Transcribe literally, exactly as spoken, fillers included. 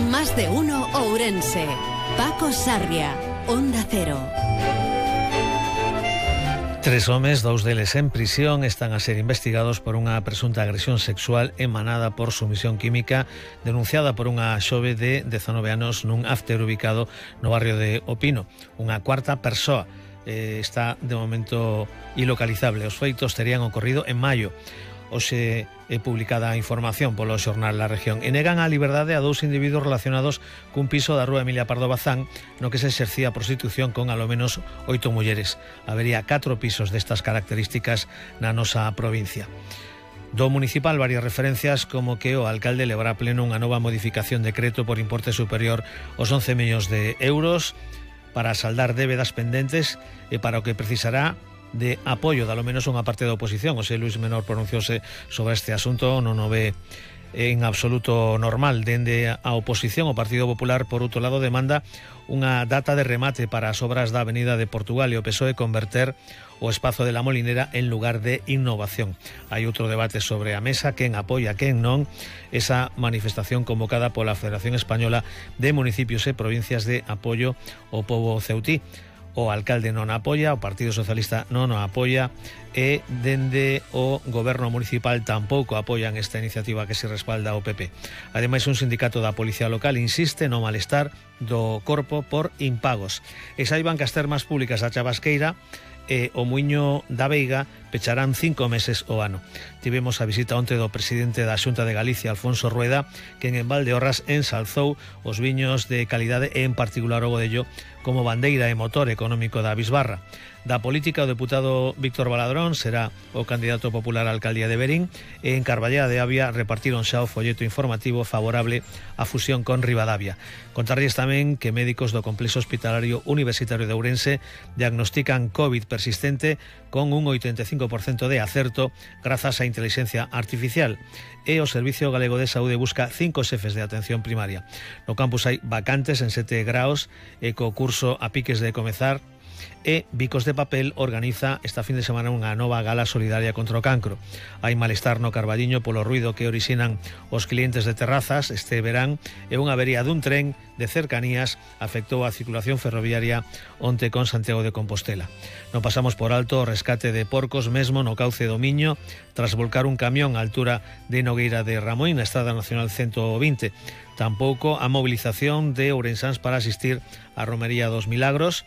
Más de uno Ourense. Paco Sarria, Onda Cero. Tres homes, dous deles en prisión, están a ser investigados por unha presunta agresión sexual emanada por sumisión química denunciada por unha xove de dezanove anos nun after ubicado no barrio de O Pino. Unha cuarta persoa eh, está de momento ilocalizable. Os feitos terían ocorrido en maio. Hoxe é publicada a información polo xornal La Región e negan a liberdade a dous individuos relacionados cun piso da rúa Emilia Pardo Bazán no que se exercía a prostitución con alo menos oito mulleres. Habería catro pisos destas características na nosa provincia. Do municipal varias referencias como que o alcalde levará a pleno unha nova modificación de decreto por importe superior aos once millóns de euros para saldar débedas pendentes e para o que precisará de apoio, dalo menos unha parte da oposición. O sea, Luis Menor pronunciouse sobre este asunto, non o ve en absoluto normal. Dende a oposición, o Partido Popular, por outro lado, demanda unha data de remate para as obras da Avenida de Portugal e o P S O E converter o espazo de la Molinera en lugar de innovación. Hai outro debate sobre a mesa, quen apoia, quen non, esa manifestación convocada pola Federación Española de Municipios e Provincias de Apoio ao Pobo Ceutí. O alcalde non apoia, o Partido Socialista non o apoia e dende o goberno municipal tampouco apoian esta iniciativa que se respalda ao P P. Ademais, un sindicato da Policía Local insiste no malestar do corpo por impagos. E saiban que as termas públicas da Chavasqueira e o Muiño da Veiga pecharán cinco meses o ano. Tivemos a visita onte do presidente da Xunta de Galicia, Alfonso Rueda, que en Valdeorras ensalzou os viños de calidade e en particular o Godello como bandeira e motor económico da bisbarra. Da política, o deputado Víctor Baladrón será o candidato popular á alcaldía de Verín e en Carballeda de Avia repartiron xa o folleto informativo favorable á fusión con Ribadavia. Contarlles tamén que médicos do Complexo Hospitalario Universitario de Ourense diagnostican COVID persistente con un oitenta e cinco por cento de acerto grazas á inteligencia artificial e o Servicio Galego de Saúde busca cinco xefes de atención primaria. No campus hai vacantes en sete graos e co curso a piques de comezar e Bicos de Papel organiza esta fin de semana unha nova gala solidaria contra o cancro. Hai malestar no Carballiño polo ruido que orixinan os clientes de terrazas este verán e unha avería dun tren de cercanías afectou a circulación ferroviaria onte con Santiago de Compostela. Non pasamos por alto o rescate de porcos mesmo no cauce do Miño tras volcar un camión á altura de Nogueira de Ramoín na Estrada Nacional ciento vinte. Tampouco a movilización de ourensáns para asistir á Romería dos Milagros